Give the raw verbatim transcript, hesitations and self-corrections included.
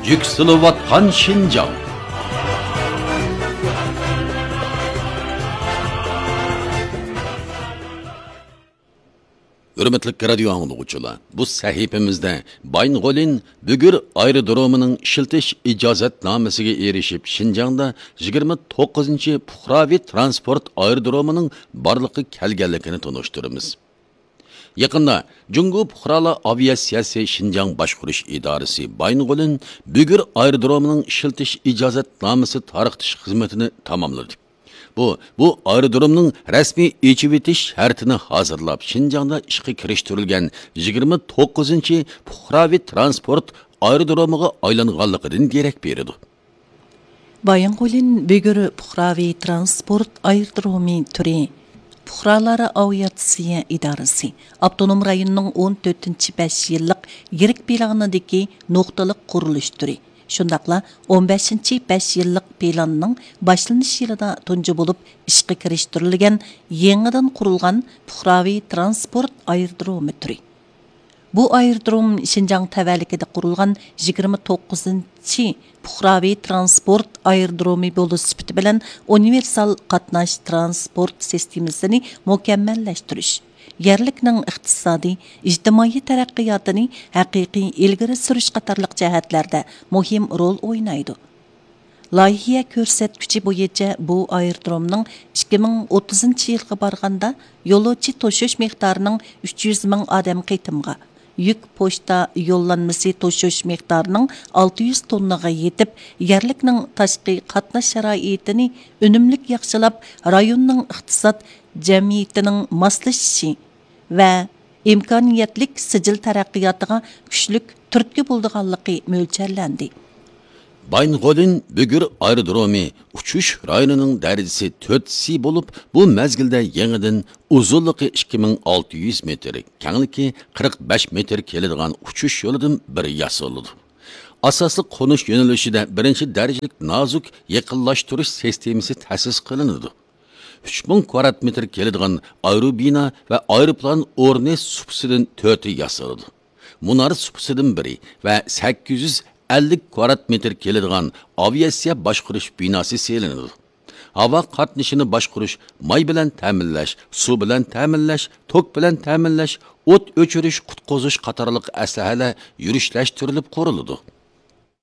يۈكسىلىۋاتقان شىنجاڭ. ھۆرمەتلىك رادىيو ئاڭلىغۇچىلار، بۇ سەھىپىمىزدە بايىنغولىن بۈگۈر ئايرودرومىنىڭ ئىشلىتىش ئىجازەتنامىسىگە ئېرىشىپ، شىنجاڭدا يىگىرمە توققۇزىنچى پۇقراۋى تىرانسپورت ئايرودرومىنىڭ بارلىققا كەلگەنلىكىنى تونۇشتۇرىمىز. يېقىندا جۇڭگو پۇقرالار ئاۋىئاتسىيەسى شىنجاڭ باشقۇرۇش ئىدارىسى بايىنغولىن بۈگۈر ئايرودرومىنىڭ ئىشلىتىش ئىجازەتنامىسى تارقىتىش خىزمىتىنى تاماملىدى. بۇ، بۇ ئايرودرومنىڭ رەسمىي ئېچىۋېتىش شەرتىنى ھازىرلاپ، شىنجاڭدا ئىشقا كىرىشتۈرۈلگەن يىگىرمە توققۇزىنچى پۇقراۋى تىرانسپورت ئايرودرومىغا ئايلانغانلىقىدىن دېرەك بېرىدۇ. بايىنغولىن بۈگۈر پۇقراۋى تىرانسپورت ئايرودرومى تۈرى، پۇقرالارا ئاۋىئاتسىيە ئىدارىسى، ئاپتونوم رايوننىڭ ئون تۆتىنچى بەش يىللىق يىرىك پىلانىدىكى نۇقتىلىق قۇرۇلۇش تۈرى، شۇنداقلا ئون بەشىنچى بەش يىللىق پىلاننىڭ باشلىنىش يىلىدا تۇنجى بولۇپ ئىشقا كىرىشتۈرۈلگەن يېڭىدىن قۇرۇلغان پۇقراۋى تىرانسپورت ئايرودرومى تۈرى. بۇ ئايرودروم شىنجاڭ تەۋەلىكىدە قۇرۇلغان يىگىرمە توققۇزىنچى پۇقراۋى تىرانسپورت ئايرودرومى بولۇش سۈپىتى بىلەن ئۇنىۋېرسال قاتناش تىرانسپورت سىستېمىسىنى مۇكەممەللەشتۈرۈش، يەرلىكنىڭ ئىقتىسادىي، ئىجتىمائىي تەرەققىياتىنى ھەقىقىي ئىلگىرى سۈرۈش قاتارلىق جەھەتلەردە مۇھىم رول ئوينايدۇ. لايىھە كۆرسەتكۈچى بويىچە بۇ ئايرودرومنىڭ ئىككى مىڭ ئوتتۇزىنچى يىلغا بارغاندا يولۇچى توشۇش مىقدارىنىڭ ئۈچ يۈز مىڭ ئادەم قېتىمغا، يۈك پوچتا يوللانمىسى توشۇش مىقدارىنىڭ ئالتە يۈز توننىغا يېتىپ، يەرلىكنىڭ تاشقى قاتناش شارائىتىنى ئۈنۈملۈك ياخشىلاپ، رايوننىڭ ئىقتىساد جەمئىيىتىنىڭ ماسلىشىشى ۋە ئىمكانىيەتلىك سىجىل تەرەققىياتىغا كۈچلۈك تۈرتكە بولىدىغانلىقى مۆلچەرلەندى. بايىنغولىن بۈگۈر ئايرودرومى ئۇچۇش رايونىنىڭ دەرىجىسى تۆت سى بولۇپ، بۇ مەزگىلدە يېڭىدىن ئۇزۇنلۇقى ئىككى مىڭ ئالتە يۈز مېتىر، كەڭلىكى قىرىق بەش مېتىر كېلىدىغان ئۇچۇش يولىدىن بىرى ياسىلىدۇ. ئاساسلىق قونۇش يۆنىلىشىدە بىرىنچى دەرىجىلىك نازۇك يېقىنلاشتۇرۇش سىستېمىسى تەسىس قىلىنىدۇ. ئۈچ مىڭ كۋادرات مېتىر كېلىدىغان ئايروبىنا ۋە ئايروپىلان ئورنى سۇپىسىدىن تۆتى ياسىلىدۇ. مۇنار سۇپىسىدىن بىرى ۋە سەككىز يۈز ئەللىك كۋادرات مېتىر كېلىدىغان ئاۋىئاتسىيە باشقۇرۇش بىناسى سېلىنىدۇ. ھاۋا قاتنىشىنى باشقۇرۇش، ماي بىلەن تەمىنلەش، سۇ بىلەن تەمىنلەش، توك بىلەن تەمىنلەش، ئوت ئۆچۈرۈش، قۇتقۇزۇش قاتارلىق ئەسلىھەلەر يۈرۈشلەشتۈرۈلۈپ قۇرۇلىدۇ.